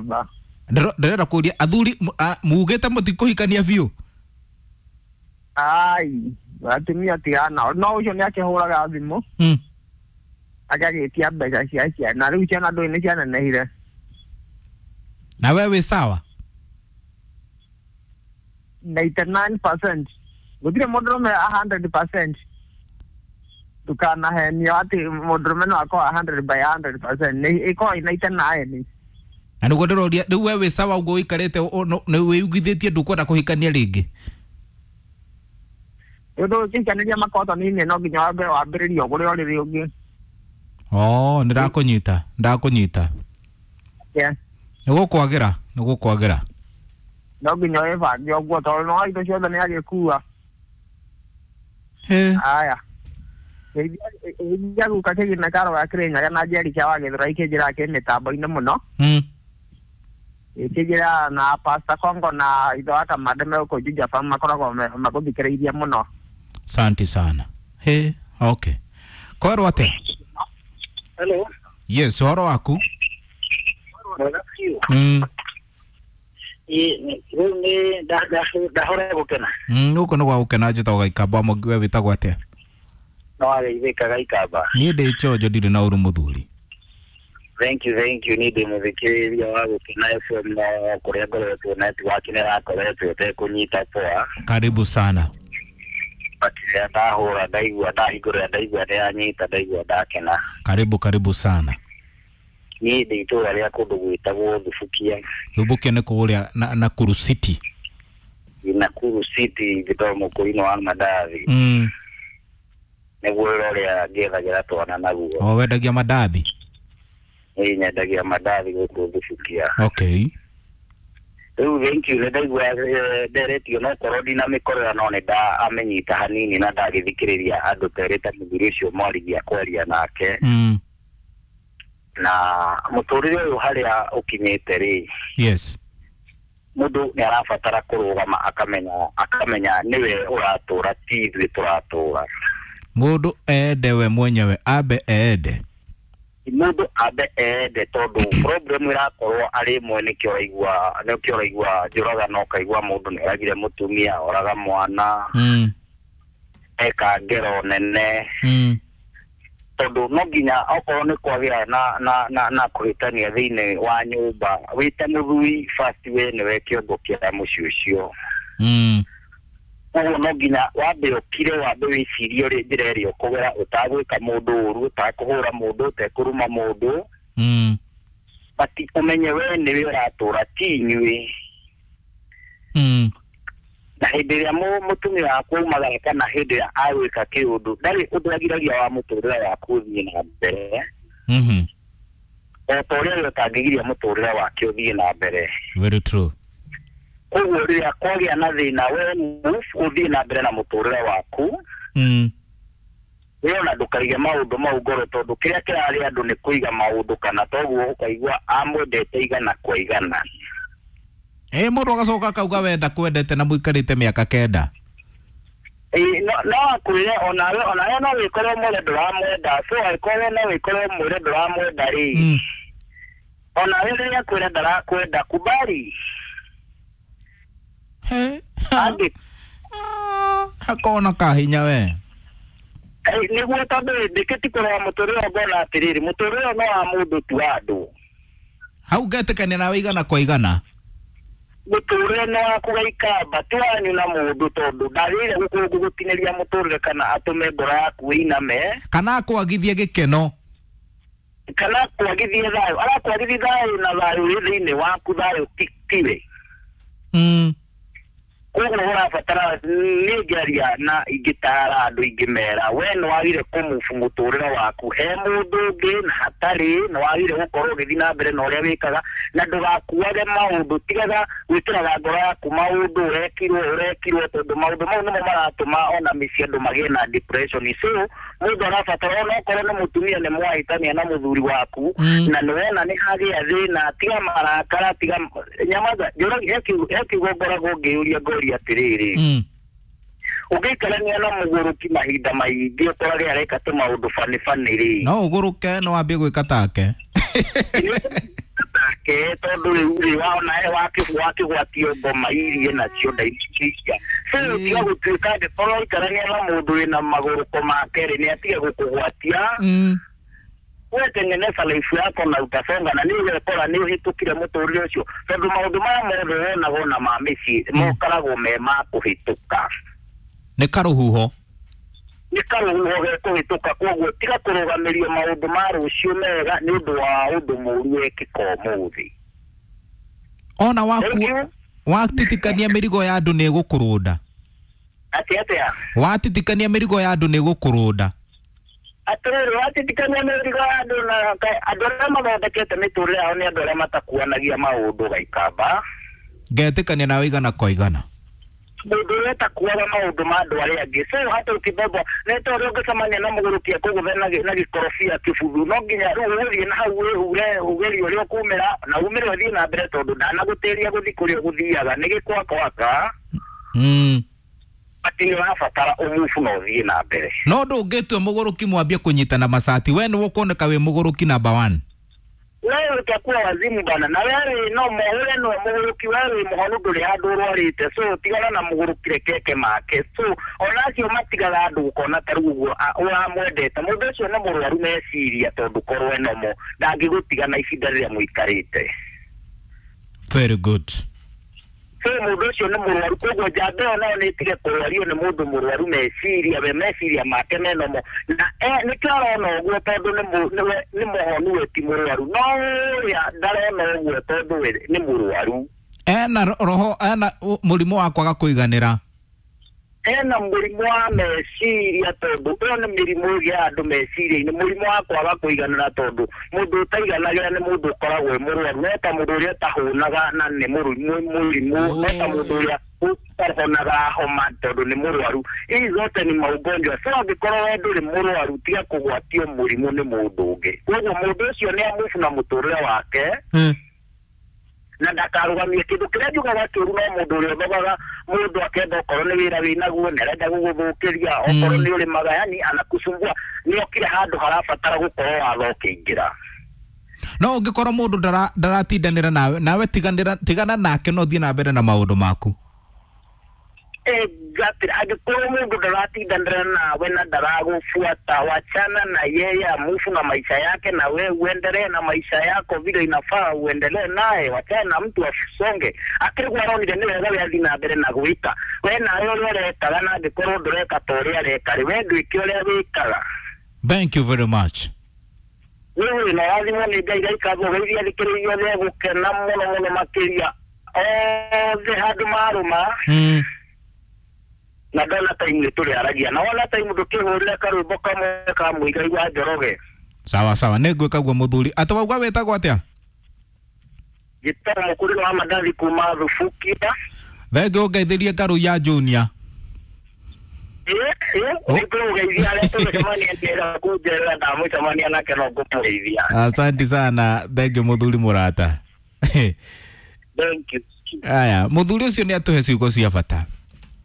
Ba. Ndĩrenda kũria athuri mugĩte mũtikũhikania biũ. Ai, atumia tigana no ũcio nĩ akĩhũraga thimũ agagĩtia mbeca cia ciana, rĩu ciana ndũĩ nĩ cianenehire. Na we wĩ sawa? 99% gũtirĩ mũndũrũme 100%. Ndũkanahenio atĩ mũndũrũme no akorwo 100 by 100%, nĩ ĩkoragwo ĩ 99. Na nĩguo ndĩroria rĩu we wĩ sawa ũguo ũikarĩte nĩ wĩigithĩtie ndũkwenda kũhikania rĩngĩ? Ũndũ ũkĩhikanĩria makotoni-inĩ no nginya wambe wambĩrĩrie ũgũre ũrĩrĩ ũngĩ. Oh, nĩndakũnyita, ndakũnyita. Yeah. Nĩgũkwagĩra, nĩgũkwagĩra. No nginya wĩbange ũguo tondũ no indo ciothe nĩ agĩkua. He. Aya. Geithia guka kĩgina karo ga Kĩrĩnyaga na Njeri kĩa Wagĩthũra ikĩnjĩra kĩ mĩtambo-inĩ mũno. Ikĩnjĩra na Pastor Kongo na ithe wa Kamande me gũkũ Juja Farm makoragwo magũthikĩrĩirie mũno. Asante sana. He, okay. Kwerwo atĩa? Hello. Yes, ũhoro waku? Mwega biũ. Ĩ, rĩu nĩ ndahora gũkena. Gũkũ nĩ gwa gũkena, njĩtagwo Gaikamba Mũngi, we wĩtagwo atĩa? No wageithĩka Gaikamba. Niĩ ndĩ chonjo, ndirĩ na ũru mũthuri. Thank you, thank you. Nĩ ndĩ mũthikĩrĩria wa Gũkena FM, no kũrĩa ngoretwo network nĩ ĩrakoretwo ĩtekũnyita poa. Karibu sana. But rĩrĩa ndahũra ndaigua ndahingũrĩra ndaigua nĩ yanyita, ndaigua ndakena. Karibu, karibu sana. Niĩ ndĩ itũũra rĩa kũndũ gwĩtagwo Thubukia. Thubukia nĩ kũrĩa na Nakuru City. Nakuru City, njĩtagwo mũkũrinũ wa mandathi. Nĩguo wĩra ũrĩa ngĩethagĩra twana naguo. O wendagia mandathi? Niĩ nyendagia mandathi gũkũ Thubukia. Okay. Rĩu thank you, nĩ ndaigua nderetio no korwo ndinamĩkorera no nĩ ndamĩnyita hanini na ndagĩthikĩrĩria andũ terĩ ta mũthuri ũcio mwarigia kwaria nake. Na mũtũrĩre ũyũ harĩa ũkinyĩte rĩ, Yes. mũndũ nĩ arabatara kũrũgama akamenya nĩwe ũratũra, ti ithuĩ tũratũra. Mũndũ ende we mwenyewe, ambe ende. Mũndũ ambe ende, tondũ problem ĩrakorwo arĩ ĩmwe, nĩkĩo ũraigua njũragano, ũkaigua mũndũ nĩ oragire mũtumia, oraga mwana, eka ngero nene. Tondũ no nginya okorwo nĩ kwagĩa na kũhĩtania thĩinĩ wa nyũmba, wĩ ta mũthuri first we nĩwe kĩongo kĩa mũciĩ ũcio. Koguo no nginya wambe ũkire, wambe wĩcirie ũrĩa njĩra ĩrĩa ũkũgera ũtagwĩka mũndũ ũru, ũtakũhũra mũndũ, ũtekũruma mũndũ. But ũmenye we nĩwe ũratũra, ti inyuĩ. Na hĩndĩ ĩrĩa mũtumia waku aumagara kana hĩndĩ ĩrĩa agwĩka kĩũndũ, ndarĩ ũndũ agiragia wa mũtũrĩre waku ũthiĩ na mbere. O ta ũrĩa we ũtangĩgiria mũtũrĩre wake ũthiĩ na mbere. Very true. Koguo rĩrĩa kwagĩa na thĩna, we move ũthiĩ na mbere na mũtũrĩre waku. We ona ndũkaige maũndũ mau ngoro, tondũ kĩrĩa kĩrarĩ andũ nĩ kũiga maũndũ, kana toguo ũkaigua amwendete igana kwa igana. Mũndũ agacoka akauga wenda kwendete na mũikarĩte mĩaka 9. No akwĩre onawe no wĩkore ũmwĩre ndũramwenda, so angĩkorwo no wĩkore ũmwĩre ndũramwenda rĩ, onawe rĩrĩa akwĩra ndarakwenda, kubali. He. Hakona kahinya we. Nĩguo, tondũ ndĩkĩti kũrora mũtũrĩre ngona atĩrĩrĩ, mũtũrĩre no wa mũndũ ti wa andũ. Hau ngetĩkania nawe igana kwa igana. Mũtũrĩre nĩ waku Gaikamba, ti wanyu na mũndũ, tondũ ndagĩrĩire gũgũtinĩria mũtũrĩre kana atũme ngoro yaku ĩiname. Kana akwagithie gĩkeno. Kana akwagithie thayũ, arakwagithia thayũ na thayũ wĩ thĩinĩ waku, thayũ tiwe. Koguo ũrabatara niĩ ngĩaria na ingĩtara andũ ingĩmera, we nĩ wagire kũmubu mũtũrĩre waku he mũndũ ũngĩ na hatarĩ, nĩ wagire gũkorwo ũgĩthiĩ na mbere na ũrĩa wĩkaga, na ndũgakuage maũndũ, tigaga gwĩkĩraga ngoro yaku maũndũ ũrekirwo, tondũ maũndũ mau nĩmo maratũma ona mĩciĩ andũ magĩe na depression. So mũndũ arabatara ona okorwo nĩ mũtumia nĩ mwahĩtania na mũthuri waku, na nĩ wona nĩ hagĩa thĩna, tiga marakara, tiga nyamaza. He kiugo ngoragwo ngĩyũria ngoria atĩrĩrĩ, ũngĩikarania na mũgũrũki mahinda maingĩ ũkorage areka tũmaũndũ bani bani rĩ, no ũgũrũke no wambie gwĩka take. Nake tondũ rĩu rĩ waona he wakĩgwatio ngoma irie nacio ndaicicia. So tiga gũtuĩka angĩkorwo waikarania na mũndũ wĩna magũrũko make rĩ, nĩ atige gũkũgwatia. We tengeneza life yako na utasonga, na nĩ ũgekora nĩ ũhĩtũkire mũtũrĩre ũcio, tondũ maũndũ maya mothe wonaga ona ma mĩciĩ mokaragwo me ma kũhĩtũka. Nĩ karũhuho. Nĩ karũhuho gekũhĩtũka, koguo tiga kũrũgamĩrio maũndũ ma rũciũ mega nĩ ũndũ wa ũndũ mũũru wekĩka ũmũthĩ. Ona waku Thank you. watitikania mĩrigo ya andũ nĩ ĩgũkũrũnda. Atĩ atĩa? Watitikania mĩrigo ya andũ nĩ ĩgũkũrũnda. Atĩrĩrĩ, watitikania mĩrigo ya andũ na andũ arĩa mathondekete mĩtũrĩre yao nĩ andũ arĩa matakuanagia maũndũ gaikamba. Ngetĩkania nawe igana kwa igana. Mũndũ ũrĩa ũtakuaga maũndũ ma andũ arĩa angĩ, so hata ũkĩbebwo nĩ ta ũrĩa ũngĩcemania na mũgũrũki akũgũthe na gĩkorobia kĩbuthu, no nginya rĩu ũgũthiĩ na hau wĩhure ũgerie ũrĩa ũkumĩra na umĩre ũthiĩ na mbere, tondũ ndanagũtĩria gũthiĩ kũrĩa ũgũthiaga nĩ gĩkwakwaka. Atĩ nĩ ũrabatara ũmubu na ũthiĩ na mbere. No ndũngĩtua mũgũrũki mwambie kũnyitana macati, we nĩwe ũkuoneka wĩ mũgũrũki number 1. Wewe utakuwa wazimu bana, na wewe no wewe no mũgũrũki, wewe mũhonu ndũrĩ handũ ũrwarĩte, so tigana na mũgũrũki rekeke make. So ona acio matigaga andũ ũkona ta rĩu ũguo ũramwendete mũndũ ũcio nĩ mũrwaru meciria, tondũ korwo enomo ndangĩgũtiga na ihinda rĩrĩa mũikarĩte. Very good. So mũndũ ũcio nĩ mũrwaru, koguo njamba ĩyo nayo nĩ ĩtige kũrwario nĩ mũndũ mũrwaru meciria, we meciria make menomo na nĩkĩo arona ũguo, tondũ nĩ mũhonu we ti mũrwaru, no ũrĩa ndarona ũguo tondũ we nĩ mũrwaru. Ena roho, ena mũrimũ wa kwaga kũiganĩra. Ena mũrimũ wa meciria, tondũ ĩyo nĩ mĩrimũ ĩgĩa andũ meciria-inĩ, mũrimũ wa kwaga kũiganĩra, tondũ mũndũ ũtaiganagĩra nĩ mũndũ ũkoragwo e mũrwaru, no ta mũndũ ũrĩa ũtahũnaga na nĩ mũrimũ, no ta mũndũ ũrĩa ũtahonaga homa tondũ nĩ mũrwaru. Hizi zote ni maugonjwa. So angĩkorwo we ndũrĩ mũrwaru, tiga kũgwatio mũrimũ nĩ mũndũ ũngĩ. Koguo mũndũ ũcio nĩ amubu na mũtũrĩre wake na ndakarũgamie kĩndũ kĩrĩa njugaga kĩũru, no mũndũ ũrĩa ũthogaga mũndũ akenda okorwo nĩ wĩra wĩnaguo nĩ arenda gũgũthũkĩria, okorwo nĩ ũrĩmaga, yani anakusumbua, nĩ okire handũ harabatara gũkorwo watho ũkĩingĩra. No ũngĩkorwo mũndũ ndaratindanĩra nawe, nawe tigana nake no ũthiĩ na mbere na maũndũ maku. Exactly. Angĩkorwo mũndũ ndaratindanĩra nawe na ndaragũbuata, wachana na yeye, amufu na maisha yake, na we uendelee na maisha yako vile inafaa uendelee naye. Wachana na mtu asonge. Akĩrĩguo aronire nĩ wega we athiĩ na mbere na gwĩka, we nawe ũrĩa ũrekaga, na angĩkorwo ndũreka ta ũrĩa areka rĩ, we ndwĩke ũrĩa wĩkaga. Thank you very much. Wewe na wathimwo nĩ Ngai gaikagwo geithia thikĩrĩirio othe gũkena mũno mũno makĩria othe handũ marũma. Na ndona time nĩ tũrĩaragia, na wona time ndũkĩhũrĩre karwĩmbo kamwe ka Mũigai wa Njoroge. Sawa sawa, nĩ ngwĩka guo mũthuri. Atĩ wauga wĩtagwo atĩa? Njĩtagwo Mũkũrĩro wa Mandathi kuma Thubukia. Thengiũ ũngeithĩrie Ngarũ ya Junior. Nĩngũgeithia arĩa tũgũcemania njĩra kũnjerera, ndamũcemania nake no ngũmũgeithia. Asante sana, thengiũ mũthuri mũrata. Thank you. Aya, mũthuri ũcio nĩ atũhe ciugo cia bata.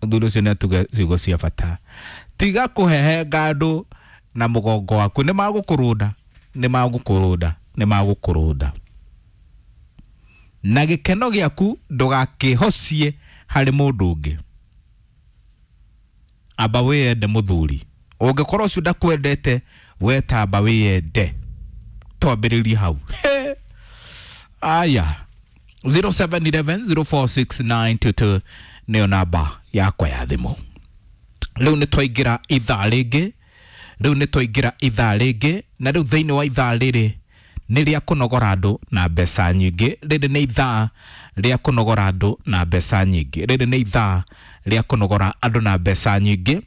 Mũthuri ũcio nĩ atũhe ciugo cia bata. Tiga kũhehenga andũ na mũgongo waku, nĩ magũkũrũnda, nĩ magũkũrũnda, nĩ magũkũrũnda. Na gĩkeno gĩaku ndũgakĩhocie harĩ mũndũ ũngĩ. Amba wĩyende mũthuri. Ũngĩkorwo ũcio ndakwendete, we tamba wĩyende. Twambĩrĩrie hau. Aya, 0711 046922 nĩyo namba yakwa ya thimũ. Rĩu nĩ twaingĩra ithaa rĩngĩ, rĩu nĩ twaingĩra ithaa rĩngĩ, na rĩu thĩinĩ wa ithaa rĩrĩ nĩ rĩa kũnogora andũ na mbeca nyingĩ. Rĩrĩ nĩ ithaa rĩa kũnogora andũ na mbeca nyingĩ. Rĩrĩ nĩ ithaa rĩa kũnogora andũ na mbeca nyingĩ.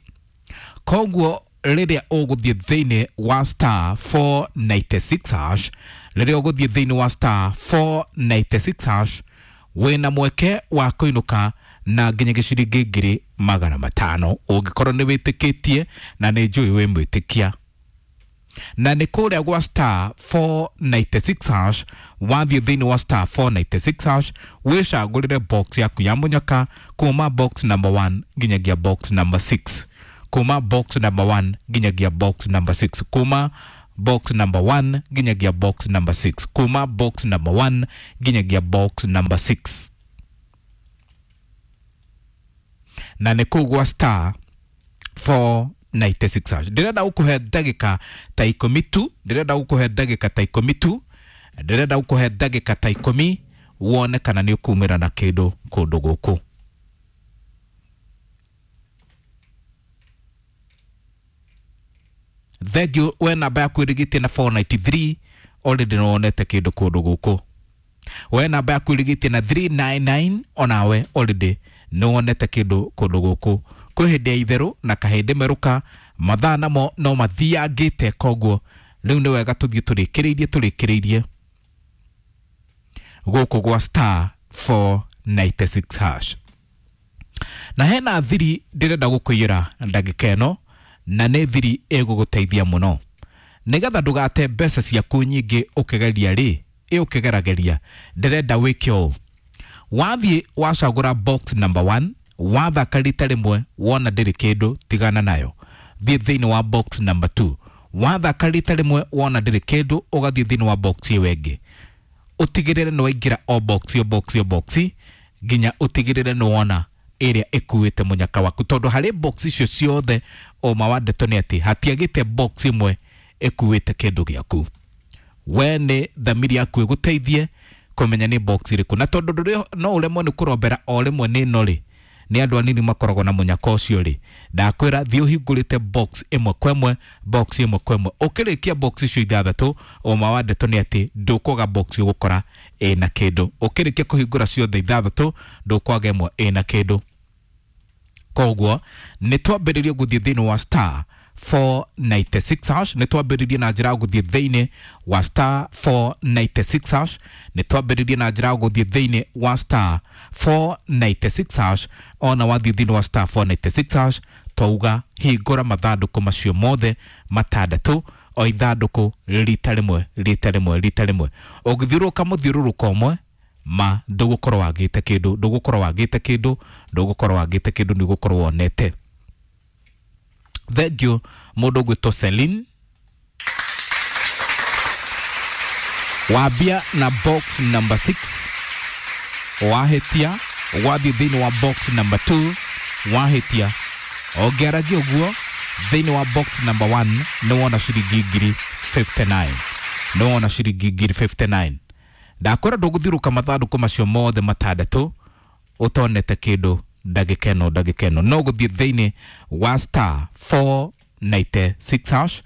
Koguo rĩrĩa ũgũthiĩ thĩinĩ wa star 496 hash, rĩrĩa ũgũthiĩ thĩinĩ wa star 496 hash, wĩna mweke wa kũinũka na nginyagia ciringi 500,000 ũngĩkorwo nĩ wĩtĩkĩtie, na nĩ njũĩ wĩ mwĩtĩkia. Na nĩ kũrĩa gwa star 496 hash, wathiĩ thĩinĩ wa star 496 hash, wĩcagũrĩre box yaku ya mũnyaka kuma box number 1 nginyagia box number 6, kuma box number 1 nginyagia box number 6, kuma Box number 1 nginyagia box number 6, kuma box number 1 nginyagia box number 6, na nĩ kũu gwa star 496 hash. Ndĩrenda gũkũhe ndagĩka ta ikũmi tu, ndĩrenda gũkũhe ndagĩka ta ikũmi tu, ndĩrenda gũkũhe ndagĩka ta ikũmi wone kana nĩ ũkumĩra na kĩndũ kũndũ gũkũ. Thengiũ we namba yaku ĩrigĩtie na 493, already nĩ wonete kĩndũ kũndũ gũkũ. We namba yaku ĩrigĩtie na 399, onawe already nĩ wonete kĩndũ kũndũ gũkũ. Kwĩ hĩndĩ ya itherũ na kahĩndĩ merũka, mathaa namo no mathiangĩte, koguo rĩu nĩ wega tũthiĩ tũrĩkĩrĩirie tũrĩkĩrĩirie gũkũ gwa star 496 hash. Na hena thiri ndĩrenda gũkũiyĩra ndagĩka ĩno, na nĩ thiri ĩgũgũteithia mũno nĩgetha ndũgate mbeca ciaku nyingĩ ũkĩgeria rĩ ĩ ũkĩgerageria. Ndĩrenda wĩke ũũ: wathiĩ wacagũra box number 1, wathaka rita rĩmwe wona ndĩrĩ kĩndũ, tigana nayo, thiĩ thĩinĩ wa box number 2. Wathaka rita rĩmwe wona ndĩrĩ kĩndũ, ũgathiĩ thĩinĩ wa box ĩyo ĩngĩ, ũtigĩrĩre nĩ waingĩra o box o box o box nginya ũtigĩrĩre nĩ wona ĩrĩa ĩkuĩte mũnyaka waku, tondũ harĩ box icio ciothe ũma wa ndeto nĩ atĩ hatiagĩte box ĩmwe ĩkuĩte kĩndũ gĩaku. We nĩ thamiri yaku ĩgũteithie kũmenya nĩ box ĩrĩkũ, na tondũ ndũrĩ no ũremwo nĩ kũrombera o rĩmwe nĩ ĩno rĩ, nĩ andũ anini makoragwo na mũnyaka ũcio rĩ, ndakwĩra thiĩ ũhingũrĩte box ĩmwe kwa ĩmwe, box ĩmwe kwa ĩmwe, ũkĩrĩkia box icio ithathatũ, ũma wa ndeto nĩ atĩ ndũkwaga box ũgũkora ĩna kĩndũ. Ũkĩrĩkia kũhingũra ciothe ithathatũ, ndũkwaga ĩmwe ĩna kĩndũ. Koguo nĩ twambĩrĩrie gũthiĩ thĩinĩ wa star 496 hash, nĩ twambĩrĩrie na njĩra ya gũthiĩ thĩinĩ wa star 496 hash, nĩ twambĩrĩrie na njĩra ya gũthiĩ thĩinĩ wa star 496 hash. Ona wathiĩ thĩinĩ wa star 496 hash, twauga hingũra mathandũkũ macio mothe matandatũ, o ithandũkũ rita rĩmwe rita rĩmwe rita rĩmwe. Ũngĩthiũrũrũka mũthiũrũrũko ũmwe ma ndũgũkorwo wagĩte kĩndũ, ndũgũkorwo wagĩte kĩndũ, ndũgũkorwo wagĩte kĩndũ, nĩ ũgũkorwo wonete. Thank you mũndũ ũgwĩtwo Celine, wambia na box number 6, wahĩtia wathiĩ thĩinĩ wa box number 2, wahĩtia ũngĩaragia ũguo thĩinĩ wa box number 1 nĩ wona ciringi ngiri 59, nĩ wona ciringi ngiri 59. Ndakwĩra ndũgũthiũrũka mathandũkũ macio mothe matandatũ ũtonete kĩndũ ndagĩka ĩno, ndagĩka ĩno no gũthiĩ thĩinĩ wa star 496 hash,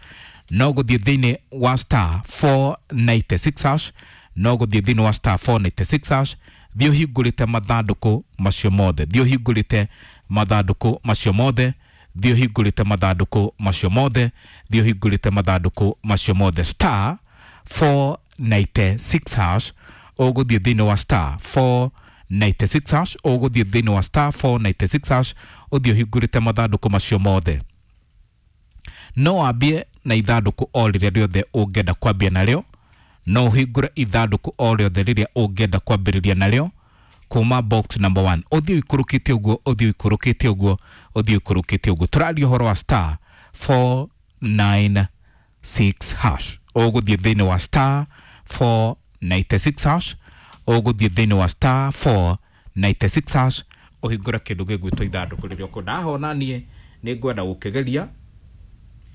no gũthiĩ thĩinĩ wa star 496 hash, no gũthiĩ thĩinĩ wa star 496 hash, thiĩ ũhingũrĩte mathandũkũ macio mothe, thiĩ ũhingũrĩte mathandũkũ macio mothe, thiĩ ũhingũrĩte mathandũkũ macio mothe, thiĩ ũhingũrĩte mathandũkũ macio mothe, star 496 hash, ũgũthiĩ thĩinĩ wa star 496 hash, ũgũthiĩ thĩinĩ wa star 496 hash, ũthiĩ ũhingũrĩte mathandũkũ macio mothe. No wambie na ithandũkũ o rĩrĩa rĩothe ũngĩenda kwambia narĩo, no ũhingũre ithandũkũ o rĩothe rĩrĩa ũngĩenda kwambĩrĩria narĩo kuma box number 1, ũthiĩ ũikũrũkĩte ũguo, ũthiĩ ũikũrũkĩte ũguo, ũthiĩ ũikũrũkĩte ũguo. Tũraria ũhoro wa star 496 hash, ũgũthiĩ thĩinĩ wa star 496 hash, ũgũthiĩ thĩinĩ wa star 496 hash, ũhingũre kĩndũ gĩgwĩtwo ithandũkũ rĩrĩa ũkwenda. Haha ona niĩ nĩ ngwenda gũkĩgeria,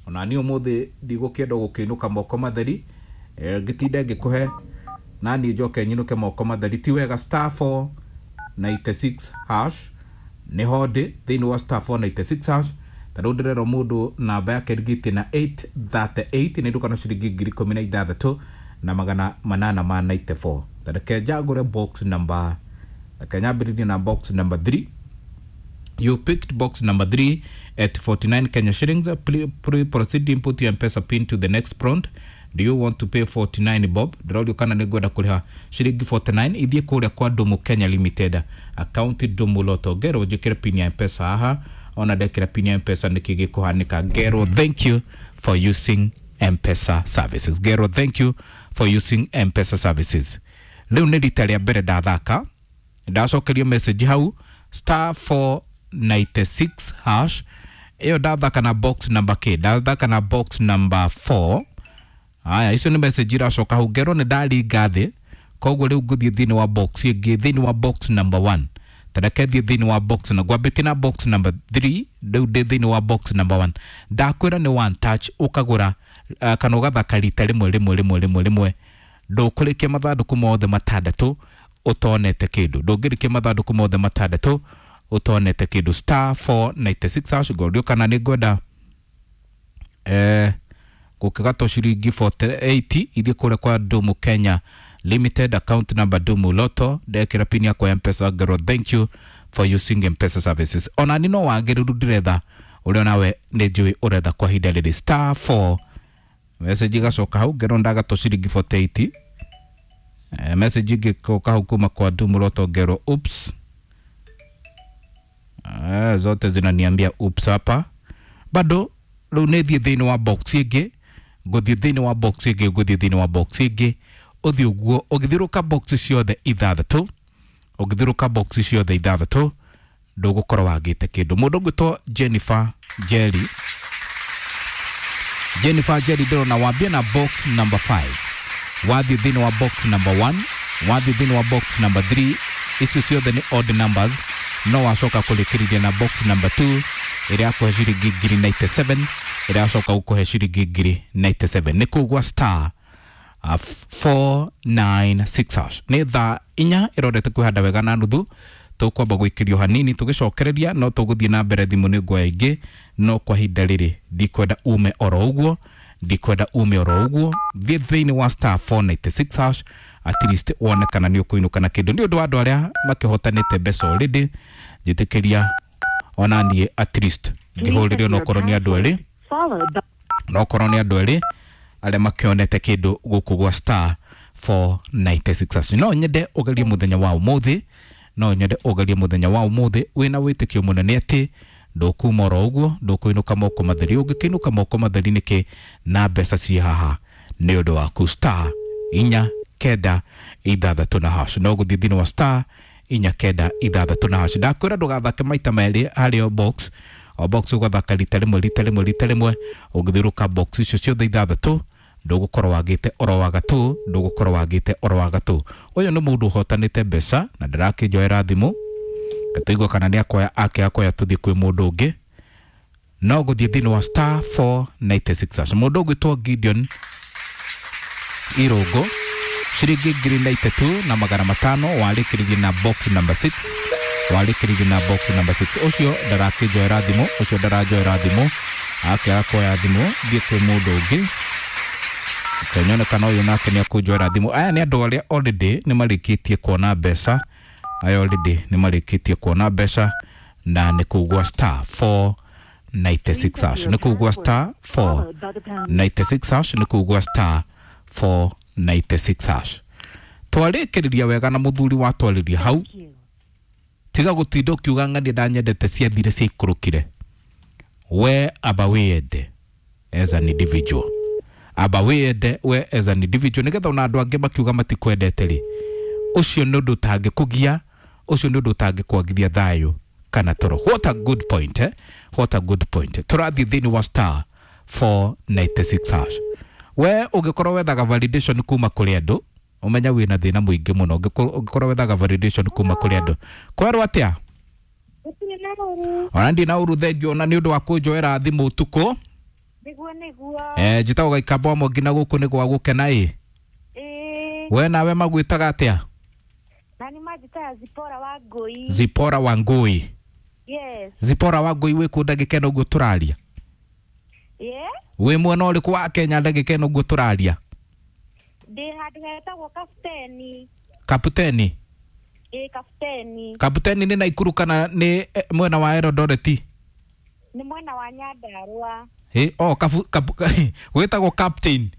ona niĩ ũmũthĩ ndigũkĩenda gũkĩinũka moko matheri, ngĩtinde ngĩkũhe na niĩ njoke nyinũke moko matheri, ti wega. Star 496 hash nĩho ndĩ thĩinĩ wa star 496 hash. Ta rĩu ndĩrerwo mũndũ namba yake ĩrigĩtie na 838 nĩ nduka na ciringi ngiri ikũmi na ithathatũ na magana manana ma 94. Ta reke njagũre box number, reke nyambĩrĩrie na box number 3. You picked box number 3 at 49 Kenya shillings. Please proceed input your M-Pesa pin to the next prompt. Do you want to pay 49 bob? Ndĩrorio kana nĩ ngwenda kũrĩha ciringi 49 ithiĩ kũrĩa kwa Ndumu Kenya Limited, account Ndumu Lotto. Ngerwo njĩkĩre pin ya M-Pesa haha, ona ndekĩra pin ya M-Pesa nĩkĩ gĩkũhanĩka. Ngerwo thank you for using M-Pesa services. Ngerwo thank you for using M-Pesa services. Rĩu nĩ rita rĩa mbere ndathaka, ndacokerio message hau star 496 hash, ĩyo ndathaka na box number k, ndathaka na box number 4. Aya, icio nĩ message iracoka hau ngerwo nĩ ndaringa thĩ, koguo rĩu ngũthiĩ thĩinĩ wa box ĩngĩ, thĩinĩ wa box number 1. Tareke thiĩ thĩinĩ wa box na ngwambĩtie na box number 3, rĩu ndĩ thĩinĩ wa box number 1. Ndakwĩra nĩ one touch ũkagũra kana ũgathaka rita rĩmwe rĩmwe rĩmwe rĩmwe rĩmwe, ndũkũrĩkia mathandũkũ mothe matandatũ ũtonete kĩndũ, ndũngĩrĩkia mathandũkũ mothe matandatũ ũtonete kĩndũ. Star 496 hash, ngorio kana nĩ ngwenda gũkĩgatwo ciringi 48 ithiĩ kũrĩa kwa Dumu Kenya Limited, account number Dumu Lotto, ndekĩra pin yakwa ya Mpesa ngerwo thank you for using Mpesa services. Ona ni no wagĩrĩru ndĩretha ũrĩa nawe nĩ njũĩ ũretha kwa ihinda rĩrĩ. Star 4 message igacoka hau ngerwo ndagatwo ciringi 48. Message ingĩcoka hau kuma kwa Dumu Lotto ngerwo oops. Zote zinaniambia oops hapa bado. Rĩu nĩ thiĩ thĩinĩ wa box ĩngĩ, ngũthiĩ thĩinĩ wa box ĩngĩ, ngũthiĩ thĩinĩ wa box ĩngĩ, ũthiĩ ũguo ũgĩthiũrũka box ciothe ithathatũ, ũgĩthiũrũka box ciothe ithathatũ ndũgũkorwo wagĩte kĩndũ. Mũndũ ũgwĩtwo Jennifer Jerry, Jennifer Jerry ndĩrona wambia na box number 5, wathiĩ thĩinĩ wa box number 1, wathiĩ thĩinĩ wa box number 3, icio ciothe nĩ odd numbers, no wacoka kũrĩkĩrĩria na box number 2 ĩrĩa yakũhe ciringi ngiri 97, ĩrĩa yacoka gũkũhe ciringi ngiri 97. Nĩ kũu gwa star 496 hash. Nĩ thaa inya ĩrorete kwĩhanda wega na nuthu, tũkwamba gwĩkĩrio hanini tũgĩcokereria, no tũgũthiĩ na mbere thimũ nĩ nguoya ingĩ, no kwa ihinda rĩrĩ ndikwenda ume oro ũguo, ndikwenda ume oro ũguo. Thiĩ thĩinĩ wa star 496 hash at least wone kana nĩ ũkũinũka na kĩndũ. Nĩ ũndũ wa andũ arĩa makĩhotanĩte mbeca already, njĩtĩkĩria ona niĩ at least ngĩhũrĩre onokorwo nĩ andũ erĩ, onokorwo nĩ andũ erĩ arĩa makĩonete kĩndũ gũkũ gwa star 496 hash. No nyende ũgerie mũthenya wa ũmũthĩ, no nyende ũgerie mũthenya wa ũmũthĩ wĩna wĩtĩkio mũnene atĩ ndũkuma oro ũguo, ndũkũinũka moko matheri. Ũngĩkĩinũka moko matheri nĩkĩ na mbeca ciĩ haha nĩ ũndũ waku. Star inya kenda ithathatũ na hash, no gũthiĩ thĩinĩ wa star inya kenda ithathatũ na hash. Ndakwĩra ndũgathake maita merĩ harĩ o box, o box ũgathaka rita rĩmwe rita rĩmwe rita rĩmwe, ũngĩthiũrũka box icio ciothe ithathatũ ndũgũkorwo wagĩte oro wa gatũ, ndũgũkorwo wagĩte oro wa gatũ. Ũyũ nĩ mũndũ ũhotanĩte mbeca na ndĩrakĩnjoera thimũ, tũigue kana nĩ akoya ake akoya tũthiĩ kwĩ mũndũ ũngĩ. No gũthiĩ thĩinĩ wa star 496 hash. Mũndũ ũgwĩtwo Gideon Irũngũ ciringi ngiri na itatu na magana matano, warĩkĩrĩrie na box number 6, warĩkĩrĩrie na box number 6. Ũcio ndarakĩnjoera thimũ, ũcio ndaranjoera thimũ, ake akoya thimũ thiĩ kwĩ mũndũ ũngĩ. Kenyone kana ũyũ nake nĩ akũnjoera thimũ. Aya nĩ andũ arĩa already nĩ marĩkĩtie kuona mbeca, aya already nĩ marĩkĩtie kuona mbeca na nĩ kũu gwa star 496 hash, nĩ kũu gwa star 496 hash, nĩ kũu gwa star 496 hash. Twarĩkĩrĩria wega na mũthuri watwarĩria hau, tiga gũtinda ũkiuga ng'ania ndanyendete ciathire ciaikũrũkire. We aba wĩyende as an individual, aba wĩyende we as an individual, nĩgetha ona andũ angĩ makiuga matikwendete rĩ, ũcio nĩ ũndũ ũtangĩkũgia, ũcio nĩ ũndũ ũtangĩkwagithia thayũ kana toro. What a good point, eh? What a good point. Tũrathiĩ thĩinĩ wa star 496 hash. We ũngĩkorwo wethaga validation kuma kũrĩ andũ, ũmenya wĩna thĩna mũingĩ mũno. Ũngĩkorwo wethaga validation kuma kũrĩ andũ, kwerwo atĩa? Ona ndirĩ na ũru, thengio ona nĩ ũndũ wa kũnjoera thimũ ũtukũ. Nĩguo nĩguo. Njĩtagwo Gaikamba wa Mwangi na gũkũ nĩ gwa gũkena ĩ. We nawe magwĩtaga atĩa? Na nĩ manjĩtaga Zipora wa Ngũi. Zipora wa Ngũi. Yes. Zipora wa Ngũi wĩ kũ ndagĩka ĩno ũguo tũraria? Yeah. Wĩ mwena ũrĩkũ wa Kenya ndagĩka ĩno ũguo tũraria? Ndĩ handũ hetagwo Kapteni. Kapteni? Ĩ, Kapteni. Kapteni nĩ Naikuru kana nĩ mwena wa Eldoret? Nĩ mwena wa Nyandarua. Ĩ, oh, wĩtagwo Captain.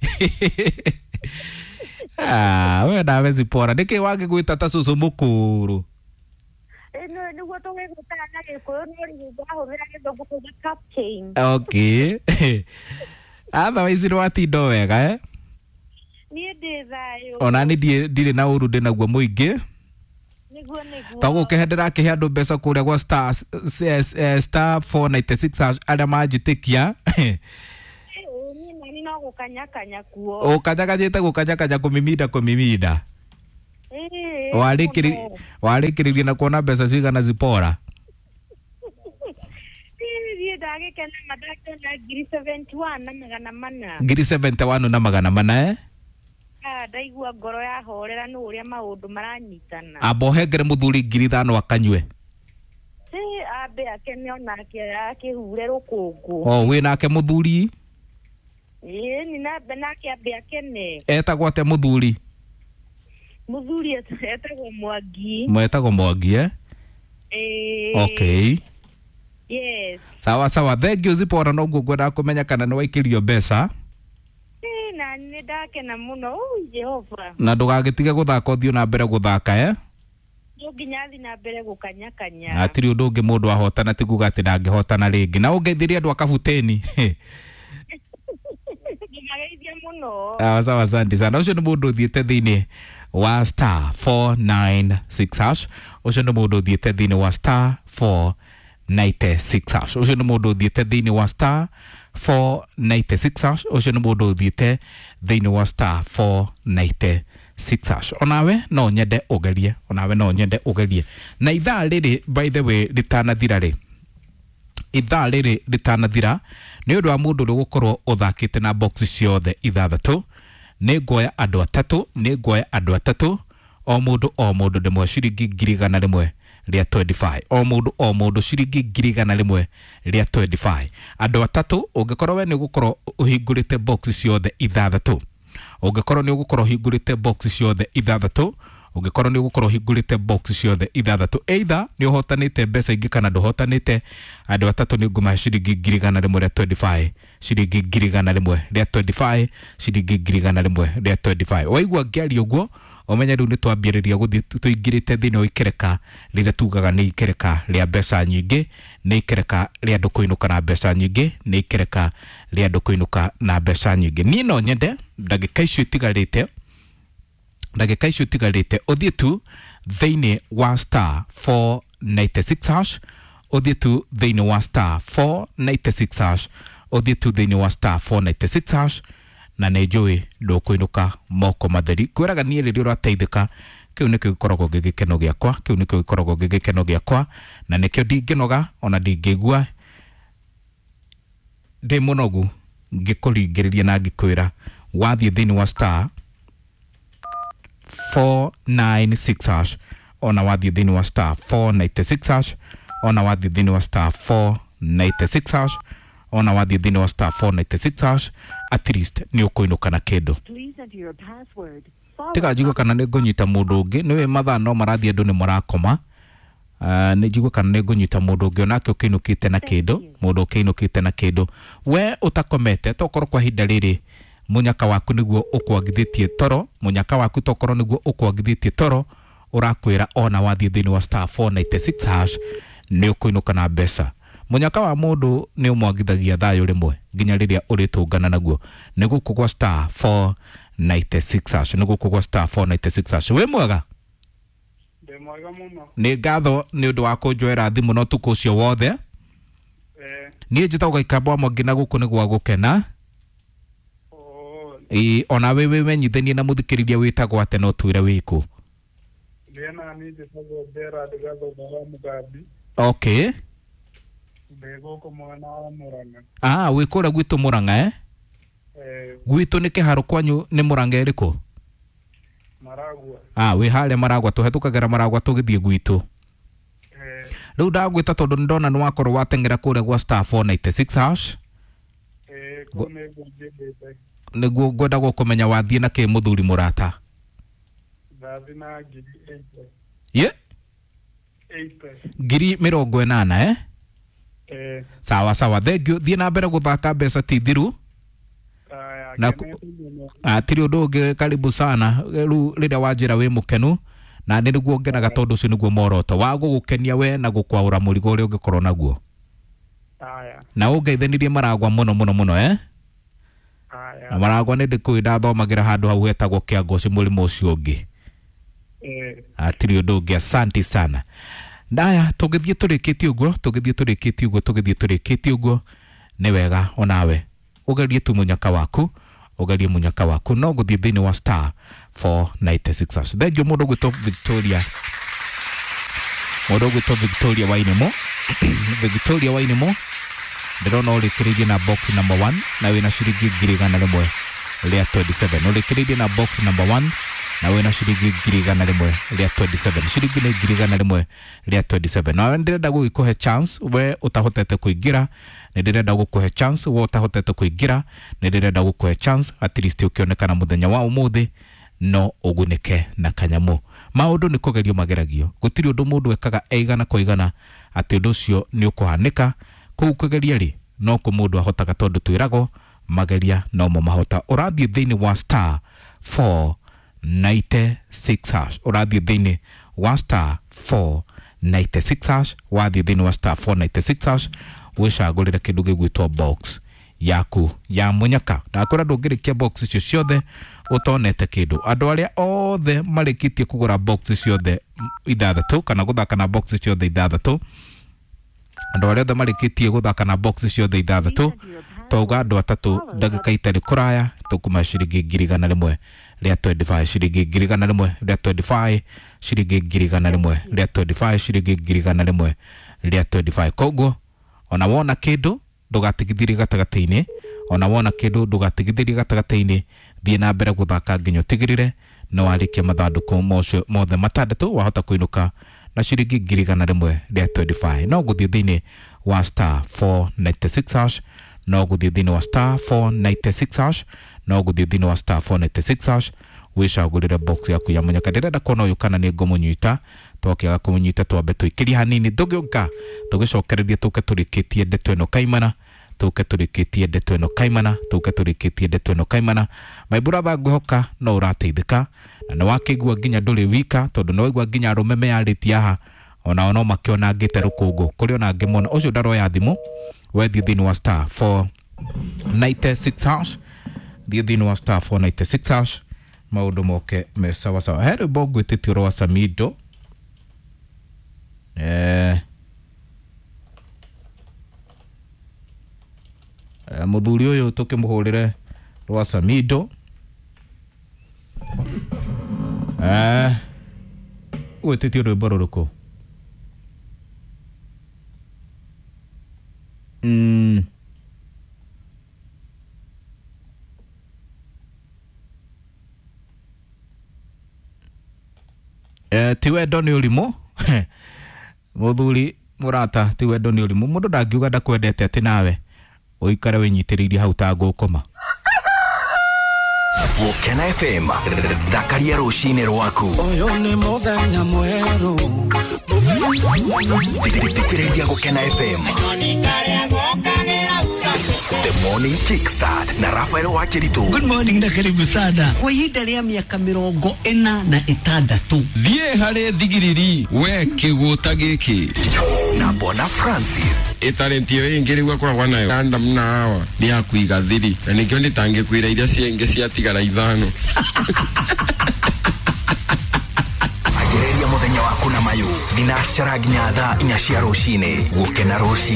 Ah, we nawe Zipora, nĩkĩ wangĩgwĩta ta cũcũ mũkũrũ? Nĩguo tũgĩgwĩtaga na Gĩkũyũ, no rĩu ndahũthĩra Gĩthũngũ kuga captain. Okay. Otherwise nĩ watinda o wega, eh? Niĩ ndĩ thayũ. Ona niĩ ndirĩ na ũru, ndĩ naguo mũingĩ. Nĩguo nĩguo. Ta gũkĩhe ndĩrakĩhe andũ mbeca kũrĩa gwa star star 496 hash arĩa manjĩtĩkia. Niĩ nani no gũkanyakanya kuo. Ũkanyakanyĩte gũkanyakanya kũmiminda kũmiminda. Ĩĩ, Warĩkĩrĩ mũno. Warĩkĩrĩria na kuona mbeca cigana Zipora? Ĩĩ, niĩ ndagĩkena ma ndakĩona 71,400 na magana mana. 71,400 na magana mana, eh? Ah, ndaigua ngoro yahorera nĩ ũrĩa maũndũ maranyitana. Amba ũhengere mũthuri 5,000 akanyue. Ĩĩ, ambe akene onake akĩhure rũkũngũ. O wĩ nake mũthuri? Ĩĩ, ni nake ambe akene. Etagwo atĩa mũthuri? Mũthuri etagwo Mwangi. Mwetagwo Mwangi, eh? Ĩĩ. Okay. Yes. Sawa sawa, thank you Zipora, noguo ngwendaga kũmenya kana nĩ waikĩrio mbeca. Ĩĩ, na nĩ ndakena mũno. Ui, Jehova. Na ndũgagĩtige gũthaka, ũthiĩ na mbere gũthaka, eh? No nginya thiĩ na mbere gũkanyakanya. Hatirĩ ũndũ ũngĩ mũndũ ahotana ti kuga atĩ ndangĩhotana rĩngĩ. Na ũngeithirie andũ a Kabuteni. Ngũmageithia mũno. Sawa sawa, asante sana. Ũcio nĩ mũndũ ũthiĩte thĩinĩ wa star 496 hash. Ũcio nĩ mũndũ ũthiĩte thĩinĩ wa star 496 hash. Ũcio nĩ mũndũ ũthiĩte thĩinĩ wa star 496 hash. Ũcio nĩ mũndũ ũthiĩte thĩinĩ wa star 496 hash. Onawe no nyende ũgerie, onawe no nyende ũgerie. Na ithaa rĩrĩ, by the way, rĩtanathira rĩ, ithaa rĩrĩ rĩtanathira, nĩ ũndũ wa mũndũ ũrĩa ũgũkorwo ũthakĩte na box ciothe ithathatũ, nĩ nguoya andũ atatũ, nĩ nguoya andũ atatũ, o mũndũ o mũndũ ndĩmwe ciringi 125,000, o mũndũ o mũndũ ciringi 125,000, andũ atatũ. Ũngĩkorwo we nĩ ũgũkorwo ũhingũrĩte box ciothe ithathatũ, ũngĩkorwo nĩ ũgũkorwo ũhingũrĩte box ciothe ithathatũ, ũngĩkorwo nĩ ũgũkorwo ũhingũrĩte box ciothe ithathatũ, either nĩ ũhotanĩte mbeca ingĩ kana ndũhotanĩte, andũ atatũ nĩ ngũmahe ciringi 125,000, ciringi 125,000, ciringi 125,000. Waigua ngĩaria ũguo, ũmenye rĩu nĩ twambĩrĩria gũthiĩ tũingĩrĩte thĩinĩ wa ikereka rĩrĩa tugaga nĩ ikereka rĩa mbeca nyingĩ, nĩ ikereka rĩa andũ kũinũka na mbeca nyingĩ, nĩ ikereka rĩa andũ kũinũka na mbeca nyingĩ. Niĩ no nyende ndagĩka icio itigarĩte, ndagĩka icio itigarĩte, ũthiĩ tu thĩinĩ wa star 496 hash, ũthiĩ tu thĩinĩ wa star 496 hash, ũthiĩ tu thĩinĩ wa star 496 hash, na nĩ njũĩ ndũkũinũka moko matheri. Kwĩraga niĩ rĩrĩa ũrateithĩka, kĩu nĩkĩo gĩkoragwo gĩ gĩkeno gĩakwa, kĩu nĩkĩo gĩkoragwo gĩ gĩkeno gĩakwa, na nĩkĩo ndingĩnoga ona ndingĩigua ndĩ mũnogu ngĩkũringĩrĩria na ngĩkwĩra wathiĩ thĩinĩ wa star 496 hash, ona wathiĩ thĩinĩ wa star 496 hash, ona wathiĩ thĩinĩ wa star 496 hash, ona wathiĩ thĩinĩ wa star 496 hash, at least nĩ ũkũinũka na kĩndũ. Please enter your password. Followed Tiga njigue kana nĩ ngũnyita mũndũ ũngĩ, nĩwe mathaa no marathiĩ, andũ nĩ marakoma. Nĩ njigue kana nĩ ngũnyita mũndũ ũngĩ onake ũkĩinũkĩte na kĩndũ, mũndũ ũkĩinũkĩte na kĩndũ. We ũtakomete, tokorwo kwa ihinda rĩrĩ mũnyaka waku nĩguo ũkwagithĩtie toro, mũnyaka waku tokorwo nĩguo ũkwagithĩtie toro, ũrakwĩra ona wathiĩ thĩinĩ wa star 496 hash nĩ ũkũinũka na mbeca. Mũnyaka wa mũndũ nĩ ũmwagithagia thayũ rĩmwe nginya rĩrĩa ũrĩtũngana naguo. Nĩ gũkũ gwa star 496 hash, nĩ gũkũ gwa star 496 hash. Wĩ mwega? Ndĩ mwega mũno. Nĩ ngatho nĩ ũndũ wa kũnjoera thimũ na ũtukũ ũcio wothe. Niĩ njĩtagwo Gaikamba wa Mwangi na gũkũ nĩ gwa gũkena. Oo, Ĩĩ, ona wĩ wĩmenyithanie na mũthikĩrĩria wĩtagwo atĩa na ũtwĩre wĩkũ. Ndĩ na niĩ njĩtagwo Gerard Gathũba wa Mũgambi. Okay. Ndĩ gũkũ mwena wa Mũrang'a. Ah, wĩ kũrĩa gwitũ Mũrang'a, eh? Eh, Gwitũ nĩ kĩharo, kwanyu nĩ Mũrang'a ĩrĩkũ? Maragua. Ah, wĩ harĩa Maragwa, tũhetũkagĩra Maragwa tũgĩthiĩ gwitũ. Eh, Rĩu ndagwĩta tondũ nĩ ndona nĩ wakorwo wateng'era kũrĩa gwa star 496 hash. Eh, kũu nĩguo njĩthĩte. Nĩguo ngwenda kũmenya wathiĩ na kĩ mũthuri mũrata. Ndathi na 80,000. Ye? 80. 80,000, eh? Eh, Sawa sawa, thank you. Thiĩ na mbere gũthaka, mbeca ti thiru. Aya, Na ngenete mũno. Hatirĩ ũndũ ũngĩ, karibu sana. Rĩu rĩrĩa wanjĩra wĩ mũkenu na nĩ nĩguo ngenaga, tondũ ũcio nĩguo muoroto wa gũgũkenia we na gũkwaũra mũrigo ũrĩa ũngĩkorwo naguo. Aya, Na ũngeithanirie Maragwa mũno mũno mũno, eh? Aya. Na Maragwa nĩ ndĩkũĩ, ndathomagĩra handũ hau hetagwo Kĩangoci mũrĩmo ũcio ũngĩ. Eh, Hatirĩ ũndũ ũngĩ, asante sana. Ndaya tũngĩthiĩ tũrĩkĩtie ũguo, tũngĩthiĩ tũrĩkĩtie ũguo, tũngĩthiĩ tũrĩkĩtie ũguo, nĩ wega onawe ũgerie tu mũnyaka waku. Ũgerie mũnyaka waku no gũthiĩ thĩinĩ wa star 496 hash. Thengiũ mũndũ ũgwĩtwo Victoria, mũndũ ũgwĩtwo Victoria Wainimo. Victoria Wainimo, ndĩrona ũrĩkĩrĩirie na box number 1 na wĩna ciringi 127,000. Ũrĩkĩrĩirie na box number 1 na wĩna ciringi 127,000. Ciringi nĩ 127,000. Na ndĩrenda gũgĩkũhe chance we ũtahotete kũingĩra, nĩ ndĩrenda gũkũhe chance we ũtahotete kũingĩra, nĩ ndĩrenda gũkũhe chance at least ũkĩonekana mũthenya wa ũmũthĩ no ũgunĩke na kanyamũ. Maũndũ nĩ kũgerio mageragio, gũtirĩ ũndũ mũndũ ekaga e igana kwa igana atĩ ũndũ ũcio nĩ ũkũhanĩka. Kũu kũgeria rĩ, no kũ mũndũ ahotaga, tondũ twĩragwo mageria nomo mahota. Ũrathiĩ thĩinĩ wa star 496 hash, ũrathiĩ thĩinĩ wa star 496 hash, wathiĩ thĩinĩ wa star 496 hash wĩcagũrĩre kĩndũ gĩgwĩtwo box yaku ya mũnyaka. Ndakwĩra ndũngĩrĩkia box icio ciothe ũtonete kĩndũ. Andũ arĩa othe marĩkĩtie kũgũra box ciothe ithathatũ kana gũthaka na box ciothe ithathatũ, andũ arĩa othe marĩkĩtie gũthaka na box ciothe ithathatũ, twauga andũ atatũ ndagĩka itarĩ kũraya tũkuma ciringi 125,000, ciringi 125,000, ciringi 125,000, ciringi 125,000. Koguo ona wona kĩndũ ndũgatigithĩrie gatagatĩ-inĩ, ona wona kĩndũ ndũgatigithĩrie gatagatĩ-inĩ, thiĩ na mbere gũthaka nginya ũtigĩrĩre nĩ warĩkia mathandũkũ mothe matandatũ, wahota kũinũka na ciringi 125,000. No gũthiĩ thĩinĩ wa star 496 hash, no gũthiĩ thĩinĩ wa star 496 hash, no gũthiĩ thĩinĩ wa star 496 hash wĩcagũrĩre box yaku ya mũnyaka. Ndĩrenda kuona ũyũ kana nĩ ngũmũnyita, twakĩaga kũmũnyita twambe tũikĩrie hanini, tũgĩũka tũgĩcokererie tũke tũrĩkĩtie ndeto ĩno kaimana, tũke tũrĩkĩtie ndeto ĩno kaimana, tũke tũrĩkĩtie ndeto ĩno kaimana. My brother, ngwĩhoka no ũrateithĩka na nĩ wakĩigua nginya ndũrĩ wika, tondũ nĩ waigua nginya arũme meyarĩtie haha onao no makĩonangĩte rũkũngũ kũrĩ ona angĩ mona ũcio ndaroya thimũ. Wethiĩ thĩinĩ wa star 496 hash, thiĩ thĩinĩ wa star 496 hash maũndũ moke me sawa sawa. He rwĩmbo ngwĩtĩtio rwa Samido, mũthuri ũyũ tũkĩmũhũrĩre rwa Samido, gwĩtĩtio rwĩmbo rũrĩkũ? Ti wendo nĩ ũrimũ. Mũthuri mũrata, ti wendo nĩ ũrimũ. Mũndũ ndangiuga ndakwendete atĩ nawe ũikare wĩnyitĩrĩirie hau ta ngũkũma. Gũkena FM, thakaria rũcinĩ rwaku. Ũyũ nĩ mũthenya mwerũ. Thikĩrĩria Gũkena FM. The Morning Kickstart na Rafael Wakiritu. Good morning na karibu sana. Kwa ihinda rĩa mĩaka 46. Thiĩ harĩ thigiriri we kĩgũta gĩkĩ. Na Bona Francis. Ĩtalenti ĩyo ĩngĩ rĩu akoragwo nayo Adam na Hawa nĩ ya kũiga thiri, na nĩkĩo ndĩtangĩkwĩra iria ciengĩ ciatigara ithano. Anjĩrĩria mũthenya waku na mayũ thinacara nginya thaa 4 cia rũcinĩ. Gũkena rũcinĩ.